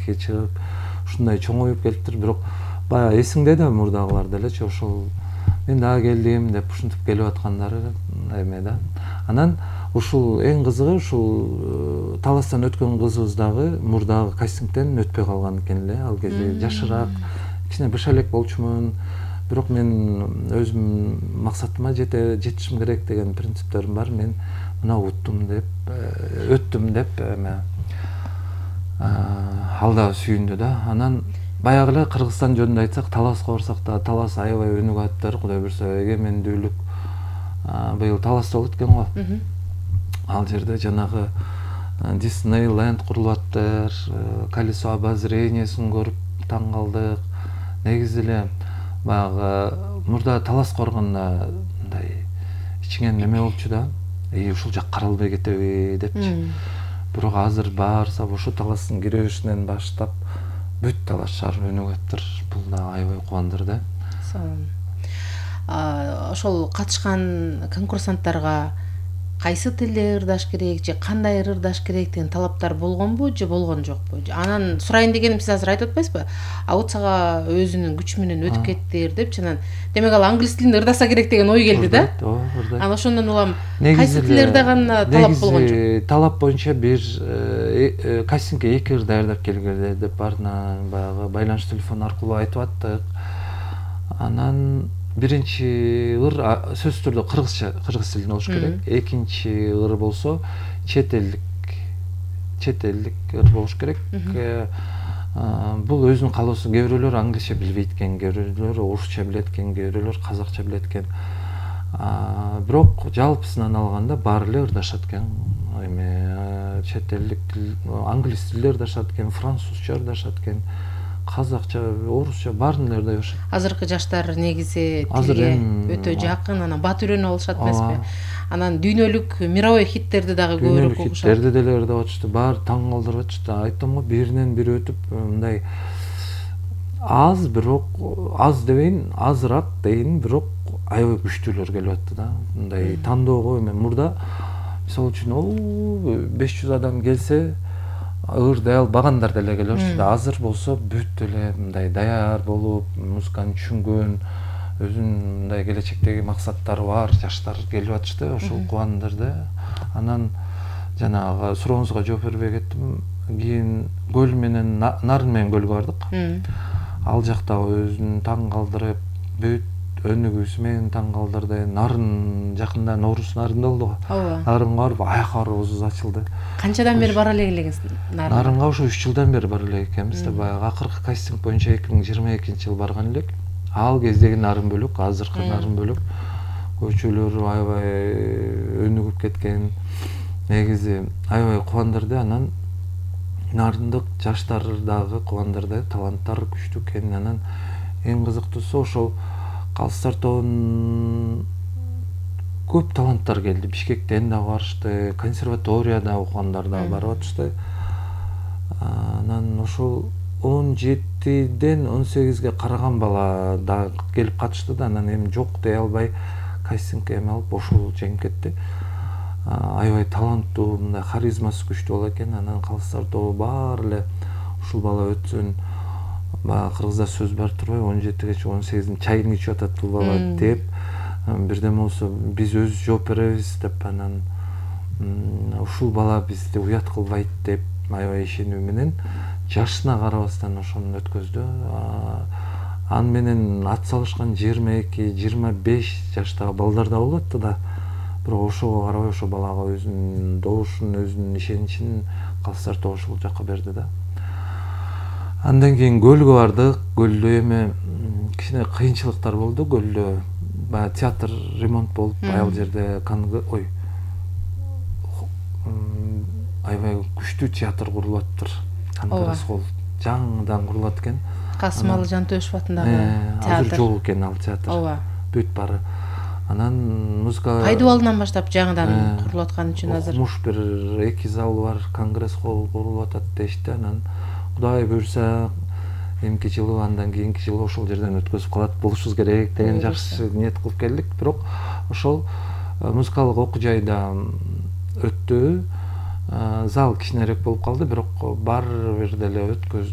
мектепке чыгып ушундай чоңоюп келиптир. Бирок баягы эсиңде да мурдагылар делечи ошол мен дагы келдим деп ушинтип келип аткандары эме да. Анан ушул эң кызыгы ушул таластан өткөн кызыбыз дагы мурдагы кастингден өтпөй калган экен эле. Ал кезде жашыраак, кичине быша элек болчумун. Бирок мен өзүм максатыма жетишим керек деген принциптерим бар. Мен мына уттум деп, өттүм деп эме ал да сүйүндү да. Анан баягы эле Кыргызстан жөнүндө айтсак, Таласка барсак да, Талас аябай өнүгүп аттыр. Кудай буйрса, эгемендүүлүк быйыл Таласта болот экен го. Ал жерде жанагы Диснейленд курулуп аттыр. Колесо обозрениясын көрүп таң калдык. Негизи эле баягы мурда Таласка барганда мындай ичиңен неме болчу да. Ушул жак каралбай кетеби депчи. Бирок азыр баарсап ошо Таластын киребешинен баштап бүт Талас шаары өнүгүп аттыр. Бул да аябай кубандырды. Ошол катышкан конкурсанттарга кайсы тилде ырдаш керек же кандай ырдаш керек деген талаптар болгонбу же болгон жокпу? Анан сурайын дегеним, сиз азыр айтып атпайсызбы? Аутсага өзүнүн күчү менен өтүп кеттир депчи. Анан демек ал англис тилинде ырдаса керек деген ой келди да. Анан ошондон улам кайсы тилде ырдаганда талап болгон жок? Талап боюнча бир кастингге 2 ыр даярдап келгиле деп баарына баягы байланыш телефону аркылуу айтып аттык. Анан биринчи ыр сөзсүз түрдө кыргыз тилинде болуш керек. Экинчи ыр болсо чет элдик ыр болуш керек. Бул өзүнүн каалоосу. Кээ бирөөлөр англисче билбейт экен, кээ бирөөлөр орусча билет экен, кээ бирөөлөр казакча билет экен. Бирок жалпысынан алганда баары эле ырдашат экен. Эме чет элдик тил, англис тилде ырдашат экен, французча ырдашат экен, казакча, орусча баарын эле ырдай беришет. Азыркы жаштар негизи тилге өтө жакын, анан бат үйрөнүп алышат эмеспи? Анан дүйнөлүк мировой хиттерди дагы көбүрөөк угушат. Хиттерди деле ырдап атышты. Баары таң калтырып атышты. Айттым го, биринен бири өтүп мындай аз, бирок аз дебейин, азыраак дейин, бирок аябай күчтүүлөр келип атты да. Мындай тандоого эме мурда мисалы үчүн 500 адам келсе ырдай албагандар деле келип атышты. Азыр болсо бүт эле мындай даяр болуп, музыканы түшүнгөн, өзүнүн мындай келечектеги максаттары бар жаштар келип атышты. Ошол кубандырды. Анан жанагы сурооңузга жооп бербей кеттим. Кийин көл менен Нарын менен көлгө бардык. Ал жакта өзүн таң калтырып, бүт өнүгүүсү менен таң калтырды. Нарын жакында Норус Нарында болду го. Нарынга барып аякка барыбыз ачылды. Канчадан бери бара элегиз Нарынга? Нарынга ошо 3 жылдан бери бара элек экенбиз да. Баягы акыркы кастинг боюнча 2022-жылы барган элек. Ал кездеги Нарын бөлөк, азыркы Нарын бөлөк. Көчөлөрү аябай өнүгүп кеткен. Негизи аябай кубандырды. Анан Нарындык жаштар дагы кубандырды. Таланттар күчтүү экен. Анан эң кызыктуусу ошол Калыстар тобунун көп таланттар келди. Бишкектен дагы барышты, консерваторияда окугандар дагы барып атышты. Анан ошол 17ден 18ге караган бала да келип катышты да. Анан эми жок дей албай кастингге эме алып ошол жеңип кетти. Аябай таланттуу, мындай харизмасы күчтүү бала экен. Анан Калыстар тобу баары эле ушул бала өтсүн, баягы кыргызда сөз бар турбайбы, 17гече 18дин чайын ичип атат бул бала деп, бирдеме болсо биз өзүбүз жооп беребиз деп, анан ушул бала бизди уят кылбайт деп аябай ишенүү менен жашына карабастан ошону өткөздү. Аны менен ат салышкан 22-25 жаштагы балдар да болуп атты да. Бирок ошого карабай ошо балага өзүнүн добушун, өзүнүн ишеничин Калыстар тобу ушул жакка берди да. Андан кийин көлгө бардык. Көлдө эми кичине кыйынчылыктар болду. Көлдө баягы театр ремонт болуп, ал жерде аябай күчтүү театр курулуп аттыр. Конгресс холл жаңыдан курулат экен. Касымалы Жантөшев атындагы театр. Азыр жок экен ал театр. Бүт баары. Анан музыка Пайдубалынан баштап жаңыдан курулуп аткан үчүн азыр окумуш бир 2 зал бар, конгресс холл курулуп атат дешти. Анан Кудай буйрса эмки жылы, андан кийинки жылы ошол жерден өткөзүп калат болушубуз керек деген жакшы ниет кылып келдик. Бирок ошол музыкалык окуу жайда өттү. Зал кичинерээк болуп калды, бирок баары бир деле өткөздүк.